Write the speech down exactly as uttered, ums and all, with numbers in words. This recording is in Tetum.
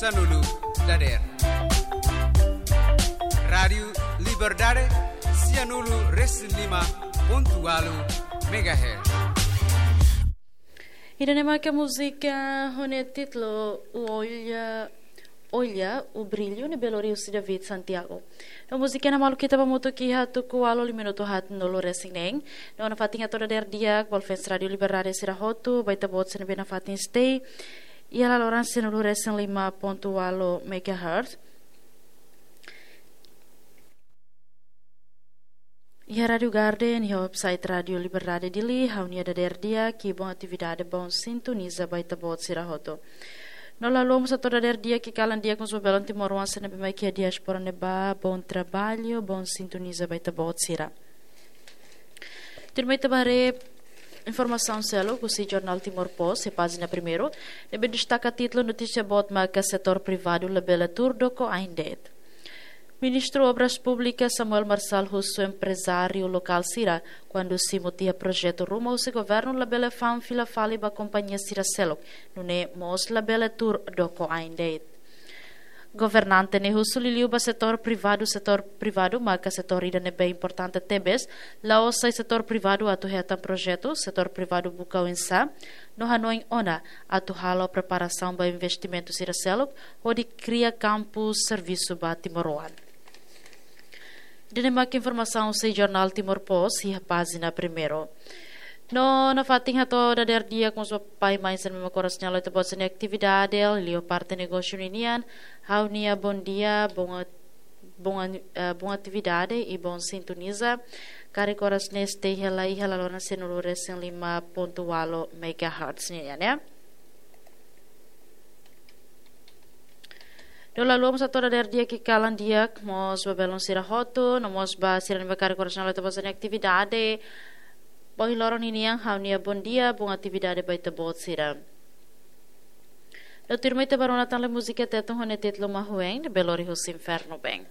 Sanulu dader. Rádiu Liberdade, sianulu resin lima pontu walu megahertz. Ida-ne'e mak múzika ho nia títulu Olha, Olha o Brilho, ne'ebé lori husi David Santiago. No múzika ne'e maluk ita ba hamutuk iha tuku ualu liu minutu haatnulu resin neen. No nafatin hato'o dader di'ak ba fans Rádiu Liberdade sira hotu, ba ita-boot sira ne'ebé nafatin stay iha laloran sianulu resin lima pontu walu megahertz. Iha Rádiu Garden, iha website Rádiu Liberdade Dili, ha'u-nia dader di'ak, boa atividade, bom sintoniza ba ita-boot sira hotu. No la haluha mós hato'o dader di'ak, kalan di'ak mós ba belun timoroan sira ne'ebé mai iha diáspora ne'ebá, bom trabalho, bom sintoniza ba ita-boot sira. Tuirmai ita ba haree informasaun seluk husi Jornál Timor Post, iha pájina primeiru, ne'ebé destaka títulu notísia boot maka setór privadu labele tuur doko ain de'it. Ministru Obras Públikas Samuel Marçal husu emprezáriu lokál sira, kuandu simu tiha projetu ruma husi governu labele fa'an fila fali ba kompañia sira seluk, nune'e mós labele tuur doko ain de'it. Governante ne'e husu liuliu ba setór privadu, setór privadu maka setór ida ne'ebé importante tebes, la'ós sai setór privadu atu hetan projetu, setór privadu buka oinsá, no hanoin ona atu halo preparasaun ba investimentu sira seluk, hodi kria kampu servisu ba timoroan. Ida-ne'e mak informasaun husi Jornál Timor Post, iha pájina primeiru. No nafatin hato'o dader di'ak mós ba pai-mãe sira ne'ebé mak oras ne'e halo ita-boot sira-nia atividade, liuliu parte negósiu ninian, ha'u-nia bom dia, bom a-, bom an-, eh, bom atividade e bom sintoniza. Karik oras ne'e stay hela iha laloran sianulu resin lima pontu walu megahertz nian, ya. No la haluha mós hato'o dader di'ak, kalan di'ak mós ba belun sira hotu, no mós ba sira ne'ebé karik oras ne'e halo ita-boot sira-nia atividade. Ba ohin loron ninian ha'u-nia bom dia, bom atividade ba ita-boot sira. No tuirmai ita ba rona tan lai múzika Tetun ho nia títulu Mahuen, ne'ebé lori husi Infernu Bem.